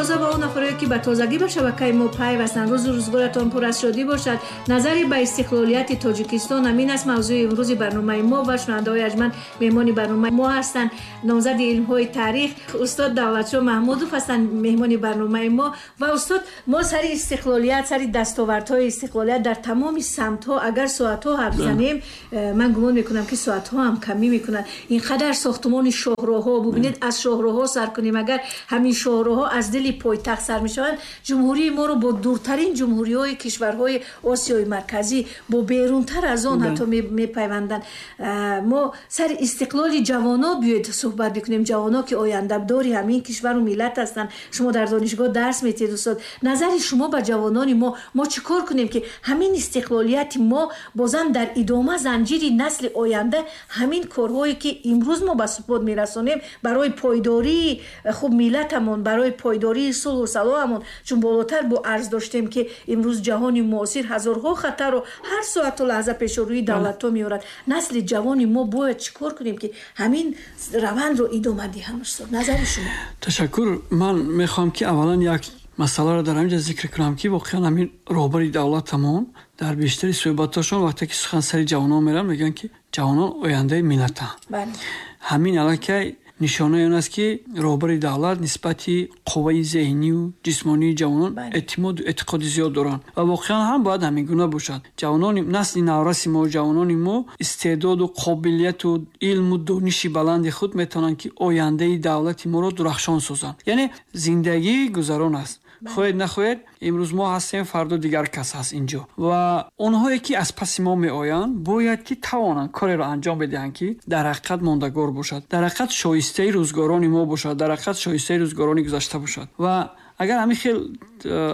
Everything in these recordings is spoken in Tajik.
Тоза ба он нафаре, ки ба тозагӣ ба шабакаи мо пайвастанд, рӯзу рӯзгоратон пур аз шодӣ бошад. Назаре ба истиқлолияти Тоҷикистон, ҳамин аст мавзӯи имрӯзи барномаи мо ва шунавандаҳои арҷманд, меҳмони барномаи мо ҳастанд номзади илмҳои таърих устод Давлатшо Маҳмудов ҳастанд меҳмони барномаи мо. Ва устод, мо сари истиқлолият, сари дастовардҳои истиқлолият дар тамоми самтҳо агар соатҳо ҳарф занем, ман гумон мекунам, ки соатҳо ҳам камӣ мекунанд. Ин қадар сохтумони шоҳроҳҳо, бубинед, аз шоҳроҳҳо сар кунем, агар ҳамин шоҳроҳҳо аз дили пойтахт сар мешаванд, ҷумҳурии моро бо дуртарин ҷумҳуриҳои кишварҳои Осиёи Марказӣ, бо берунтар аз он ҳатто мепайванданд. Мо сари истиқлоли ҷавоно биёед суҳбат бикунем, ҷавоно, ки ояндадори ҳамин кишвару миллат ҳастанд. Шумо дар донишгоҳ дарс метиҳед, устод. Назари шумо ба ҷавонони мо, мо чӣ кор кунем, ки ҳамин истиқлолияти мо бозам дар идома занҷири насли оянда ҳамин корҳое, ки имрӯз мо ба супот мерасонем, барои пойдории хуб миллатамон, барои пойдории сулҳу салоҳамон, чун болотар бо арз доштем, ки имрӯз ҷаҳони муосир ҳазорҳо хатарро ҳар соату лаҳза пешорӯи давлатҳо меорад. Насли ҷавони мо бояд чӣ кор кунем, ки ҳамин равандро идома диҳанд? Устод, назари шумо. Ташаккур. Ман мехоҳам, ки аввалан як масъаларо дар ҳаминҷа зикр кунам, ки воқеан ҳамин роҳбари давлатамон дар бештари суҳбатҳошон, вақте ки сухан сари ҷавонон мераванд, мегӯянд, ки ҷавонон ояндаи миллатанд. Ҳамин аллакай нишонаи он аст, ки роҳбари давлат нисбати қувваи зеҳнию ҷисмонии ҷавонон эътимоду эътиқоди зиёд доранд ва воқеан ҳам бояд ҳамин гуна бошад. Ҷавонони насли навраси мо, ҷавонони мо истеъдоду қобилияту илму дониши баланди худ метавонанд, ки ояндаи давлати моро дурахшон созанд. Яъне зиндагӣ гузарон аст, хоҳед нахоҳед, имрӯз мо ҳастем, фардо дигар кас ҳаст инҷо ва онҳое, ки аз паси мо меоянд, бояд ки тавонанд кореро анҷом бидиҳанд, ки дар ҳақиқат мондагор бошад, дар ҳақиқат шоистаи рӯзгорони мо бошад, дар ҳақиқат шоистаи рӯзгорони гузашта бошад. Ва агар ҳамин хел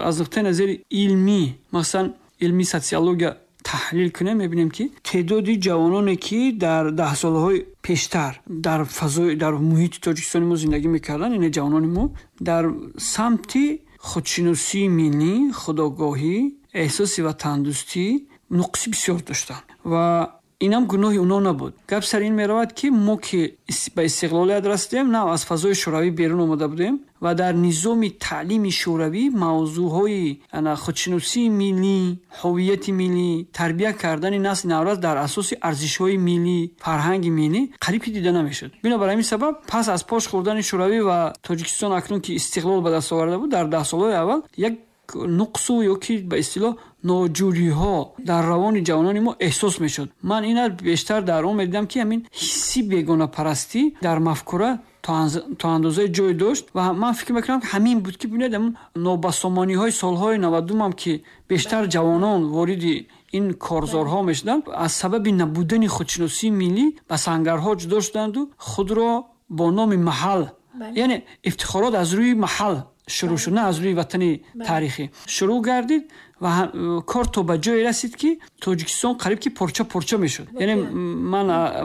аз нуқтаи назари илмӣ, масалан илми социология, таҳлил кунем, мебинем, ки теъдоди ҷавононе, ки дар даҳсолаҳои пештар дар фазои, дар муҳити Тоҷикистони мо зиндагӣ мекарданд, яъне ҷавонони мо дар самти худшиносии миллӣ, худогоҳӣ, эҳсоси ватандӯстӣ нуқси бисёр доштанд ва инам гуноҳи онҳо набуд. Гап сари ин меравад, ки мо, ки ба истиқлолият расидем, нав аз фазои шӯравӣ берун омада будем ва дар низоми таълими шӯравӣ мавзӯъҳои худшиносии миллӣ, ҳуввияти миллӣ, тарбия кардани насли наврас дар асоси арзишҳои миллӣ, фарҳанги миллӣ қариб ки дида намешуд. Бинобар ҳамин сабаб, пас аз пош хӯрдани шӯравӣ ва Тоҷикистон акнун ки истиқлол ба даст оварда буд, дар даҳсолаҳои аввал як нуқсу ё ки ба истилоҳ ноҷӯриҳо дар равони ҷавонони мо эҳсос мешуд. Ман ина бештар дар он медидам, ки ҳамин ҳисси бегонапарастӣ дар мафкура то андозаи ҷой дошт ва ман фикр мекунам, ки ҳамин буд, ки бинед, ҳамин нобасомониҳои солҳои 90-ам, ки бештар ҷавонон вориди ин корзорҳо мешуданд, аз сабаби набудани худшиносии миллӣ ба сангарҳо ҷудо шуданду худро бо номи маҳал, яъне ифтихорот аз рӯи маҳал шурӯъ шуд, на аз рӯи ватани таърихӣ шурӯъ гардид ва кор то ба ҷое расид, ки Тоҷикистон қариб ки порча порча мешуд. Яъне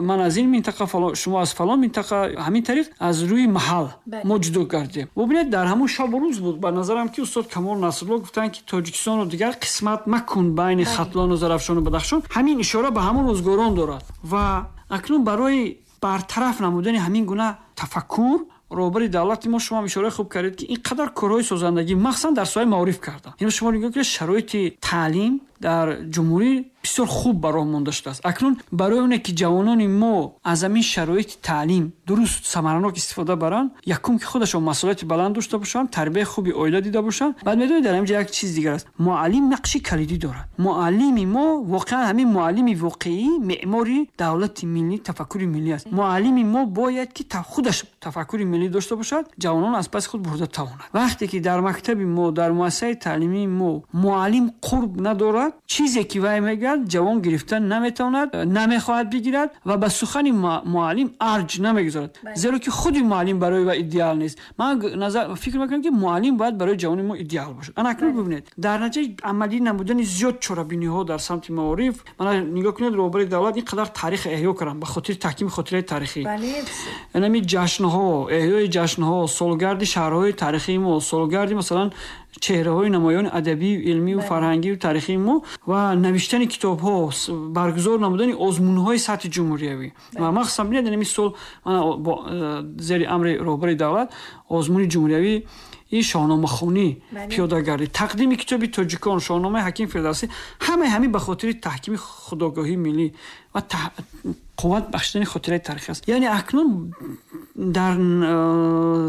ман аз ин минтақа, шумо аз фалон минтақа, ҳамин тариқ аз рӯи маҳал мо ҷудо гардем. Бубинед, дар ҳамон шабу рӯз буд, ба назарам, ки устод Камол Насрулло гуфтанд, ки Тоҷикистонро дигар қисмат макун байни Хатлону Зарафшону Бадахшон. Ҳамин ишора ба ҳамон рӯзгорон дорад ва акнун барои бартараф намудани ҳамин гуна тафаккур роҳбари давлати мо, шумо ишораи хуб кардед, ки ин қадар корҳои созандагӣ, махсусан дар соҳаи маориф карданд. Ино шумо нигоҳ кунед, шароити таълим дар ҷумҳурӣ бисёр хуб ба роҳ монда шудааст. Акнун барои оне ки ҷавонони мо аз ҳамин шароити таълим дуруст, самаранок истифода баранд, якум, ки худашон масъулияти баланд дошта бошанд, тарбияи хуби оила дида бошанд. Баъд медонед, дар ҳамин ҷо як чиз дигар аст: муаллим нақши калидӣ дорад. Муаллими мо воқеан, ҳамин муаллими воқеӣ меъмори давлати миллӣ, тафаккури миллӣ аст. Муаллими мо бояд ки худаш тафаккури миллӣ дошта бошад, ҷавонон аз паси худ бурда тавонад. Вақте ки дар мактаби мо, дар муассисаи таълимии мо муаллим қурб надорад, чизе ки вай мегӯяд, ҷавон гирифта наметавонад, намехоҳад бигирад ва ба сухани муаллим арҷ намегузорад, зеро ки худи муаллим барои вай идеал нест. Ман фикр мекунам, ки муаллим бояд барои ҷавони мо идеал бошад. Ана акнун бибинед, дар натиҷаи амалӣ намудани зиёд чорабиниҳо дар самти маориф, мана нигоҳ кунед, роҳбари давлат ин қадар таърих эҳё карданд ба хотири таҳкими хотираи таърихӣ. Инами ҷашнҳо, эҳёи ҷашнҳо, солгарди шаҳрҳои таърихии мо, солгарди, масалан, чеҳраҳои намоёни адабию илмию фарҳангию таърихии мо ва навиштани китобҳо, баргузор намудани озмунҳои сатҳи ҷумҳуриявӣ ва махсусан бинед, инами сол зери амри роҳбари давлат озмуни ҷумҳуриявӣ Ин шоҳномахонӣ, пиёдагардӣ, тақдими китоби тоҷикон, шоҳномаи Ҳаким Фирдавсӣ, ҳамаи ҳамин ба хотири таҳкими худогоҳии миллӣ ва қувват бахшидани хотираи таърихӣ аст. Яъне акнун дар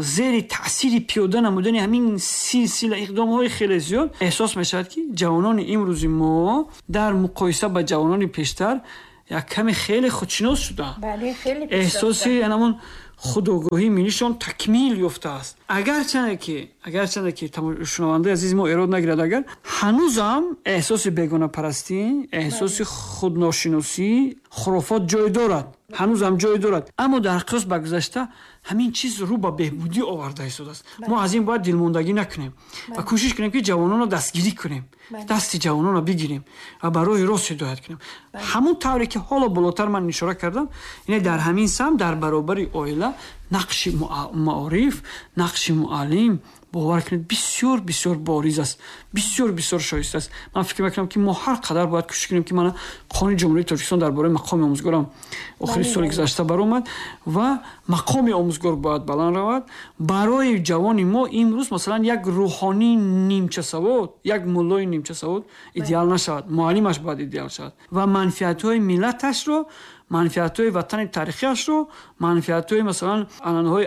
зери таъсири пиёда намудани ҳамин силсила иқдомҳои хеле зиёд эҳсос мешавад, ки ҷавонони имрӯзи мо дар муқоиса ба ҷавонони пештар як каме хеле худшинос шудаанд. Эҳсоси ҳамон худогоҳии миллишон такмил ёфтааст. Агарчанде ки шунавандаи азизи мо эрод нагирад, агар ҳанӯзам эҳсоси бегонапарастӣ, эҳсоси худношиносӣ, хурофот ҷой дорад, ҳанӯзам ҷой дорад, аммо дар қиёс ба гузашта ҳамин чиз рӯ ба беҳбудӣ оварда истодааст. Мо аз ин бояд дилмондагӣ накунем ва кӯшиш кунем, ки ҷавононро дастгирӣ кунем, дасти ҷавононро бигирем ва ба роҳи рост ҳидоят кунем. Ҳамон тавре ки ҳоло болотар ман ишора кардам, ине дар ҳамин самт дар баробари оила нақши маориф, нақши муаллим, бовар кунед, бисёр бисёр бориз аст, бисёр бисёр шоиста аст. Ман фикр мекунам, ки мо ҳар қадар бояд кӯшиш кунем, ки мана Қонуни Ҷумҳурии Тоҷикистон дар бораи мақоми омӯзгорам охири соли гузашта баромад ва мақоми омӯзгор бояд баланд равад. Барои ҷавони мо имрӯз масалан як рӯҳонии нимчасавод, як муллои нимчасавод идеал нашавад, муаллимаш бояд идеал шавад ва манфиатҳои миллаташро, манфиатҳои ватани таърихиашро, манфиатҳои масалан анъанаҳои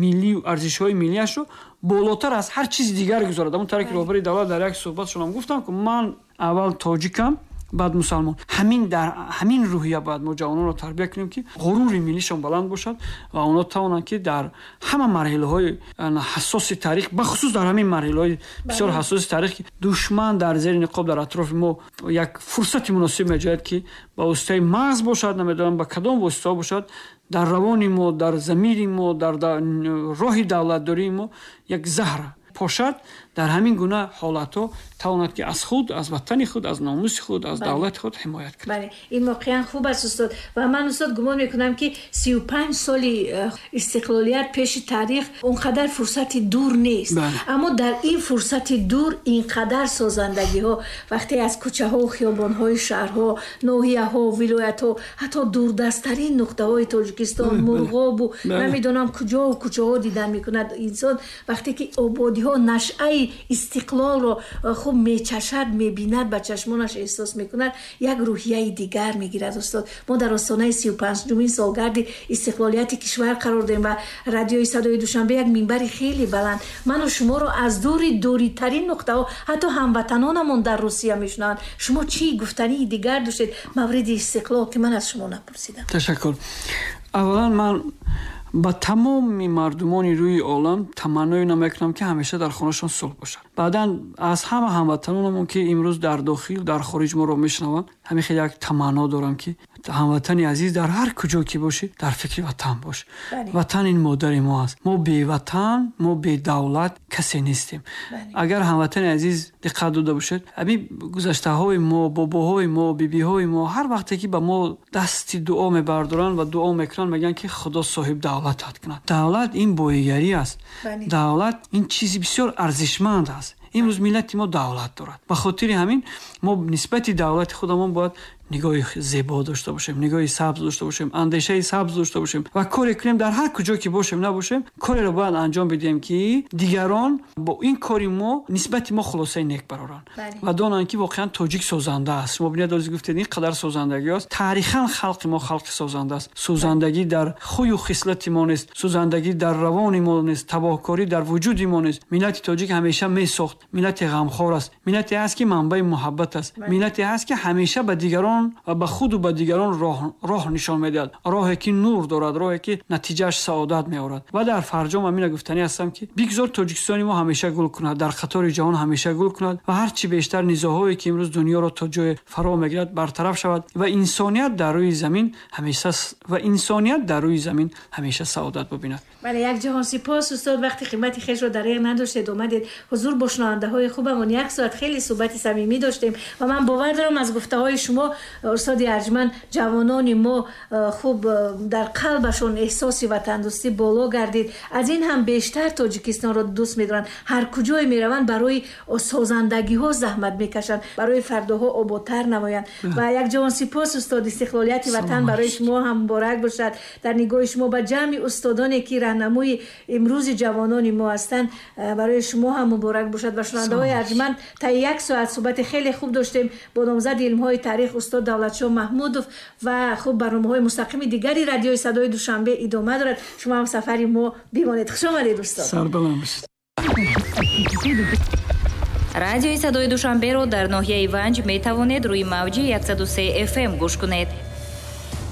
миллию арзишҳои миллиашро болотар аз ҳар чизи дигар гузорад. Ҳамон тавре ки роҳбари давлат дар як суҳбатшонам гуфтам, ки ман аввал тоҷикам, баъд мусалмон. Ҳамин дар ҳамин рӯҳия бояд мо ҷавононро тарбия кунем, ки ғурури миллишон баланд бошад ва онҳо тавонанд, ки дар ҳама марҳилаҳои ҳассоси таърих, бахусус дар ҳамин марҳилаҳои бисёр ҳассоси таърих, ки душман дар зери ниқоб дар атрофи мо як фурсати муносиб меҷояд, ки ба воситаи мағз бошад, намедонам ба кадом воситаҳо бошад, дар равони мо, дар замири мо, дар роҳи давлатдории мо як заҳр пошад, дар ҳамин гуна ҳолатҳо тавонад, ки аз худ, аз ватани худ, аз номуси худ, аз давлати худ ҳимоят кунад. Бале, ин воқеан хуб аст, устод. Ва ман, устод, гумон мекунам, ки 35 соли истиқлолият пеши таърих он қадар фурсати дур нест. Аммо дар ин фурсати дур ин қадар созандагиҳо, вақте аз кӯчаҳо, хиёбонҳои шаҳрҳо, ноҳияҳо, вилоятҳо, ҳатто дурдасттарин нуқтаҳои Тоҷикистон, Мурғобу намедонам куҷову куҷоҳо дидан мекунад инсон, вақте ки ободиҳо, нашъаи истиқлолро хуб мечашад, мебинад, ба чашмонаш эҳсос мекунад, як рӯҳияи дигар мегирад. Устод, мо дар остонаи 35-умин солгарди истиқлолияти кишвар қарор дорем ва радиои Садои Душанбе як минбари хеле баланд ману шуморо аз дури дуритарин нуқтаҳо, ҳатто ҳамватанонамон дар Русия мешунаванд. Шумо чӣ гуфтании дигар доштед мавриди истиқлол, ки ман аз шумо напурсидам? Ташаккур. Аввалан ман ба тамоми мардумони рӯи олам таманное намекунам, ки ҳамеша дар хонашон сулҳ бошад. Баъдан аз ҳама ҳамватанонамон, ки имрӯз дар дохил, дар хориҷ моро мешунаванд, ҳамин хел як таманно дорам, ки ҳамватани азиз, дар ҳар куҷо ки бошӣ, дар фикри ватан бош. Ватан ин модари мо аст. Мо беватан, мо бедавлат касе нестем. Агар ҳамватани азиз диққат дода бошед, ҳамин гузаштаҳои мо, бобоҳои мо, бибиҳои мо ҳар вақте ки ба мо дасти дуо мебардоранд ва дуо мекунанд, мегӯянд, ки Худо соҳиб давлатат кунад. Давлат ин боигарӣ аст. Давлат ин чизи бисёр арзишманд аст. Имрӯз миллати мо давлат дорад. Ба хотири ҳамин мо нисбати давлати худамон бояд нигоҳи зебо дошта бошем, нигоҳи сабз дошта бошем, андешаи сабз дошта бошем ва коре кунем, дар ҳар куҷо ки бошем набошем, кореро бояд анҷом бидиҳем, ки дигарон бо ин кори мо нисбати мо хулосаи нек бароранд ва донанд, ки воқеан тоҷик созанда аст. Шумо бинед, ози гуфтед, ин қадар созандагӣ аст. Таърихан халқи мо халқи созанда аст. Созандагӣ дар хӯю хислати мо нест, созандагӣ дар равони мо нест, табоҳкорӣ дар вуҷуди мо нест. Миллати тоҷик ҳамеша месохт, миллати ғамхор аст, миллате ҳаст, ки манбаи муҳаббат аст, миллате ҳаст, ки ҳамеша ба дигарон ва ба худу ба дигарон роҳ нишон медиҳад, роҳе ки нур дорад, роҳе ки натиҷааш саодат меорад. Ва дар фарҷом ҳамина гуфтанӣ ҳастам, ки бигзор Тоҷикистони мо ҳамеша гул кунад, дар қатори ҷаҳон ҳамеша гул кунад ва ҳарчи бештар низоъҳое, ки имрӯз дунёро то ҷое фаро мегирад, бартараф шавад ва инсоният дар рӯи замин ҳамеша ва инсоният дар рӯи замин ҳамеша саодат бибинад. Бале, як ҷаҳон сипос, устод. Вақти қимати хешро дариғ надоштед, омадед ҳузур бо шунавандаҳои хубамон, як соат хеле суҳбати самимӣ доштем ва ман бовар дорам, аз гуфтаҳои шумо Устоди арҷманд, ҷавонони мо хуб дар қалбашон эҳсоси ватандӯстӣ боло гардид, аз ин ҳам бештар Тоҷикистонро дӯст медоранд, ҳар куҷое мераванд барои созандагиҳо заҳмат мекашанд, барои фардоҳо ободтар намоянд. Ва як ҷавон сипос, устод, истиқлолияти ватан барои шумо ҳам муборак бошад. Дар нигоҳи шумо ба ҷамъи устодоне ки раҳнамои имрӯзи ҷавонони мо ҳастанд, барои шумо ҳам муборак бошад. Ва шунавандаҳои арҷманд, таи як соат суҳбати хеле хуб доштем бо номзади илмҳои таърих устод Давлатшоҳ Маҳмудов ва хуб барномаҳои мустақими дигари радиои Садои Душанбе идома дорад. Шумо ҳам сафари мо бимонед. Хуш омадед, устод. Сарбаланд бошед. Радиои Садои Душанберо дар ноҳияи Ванҷ метавонед рӯи мавҷи 103 FM гӯш кунед.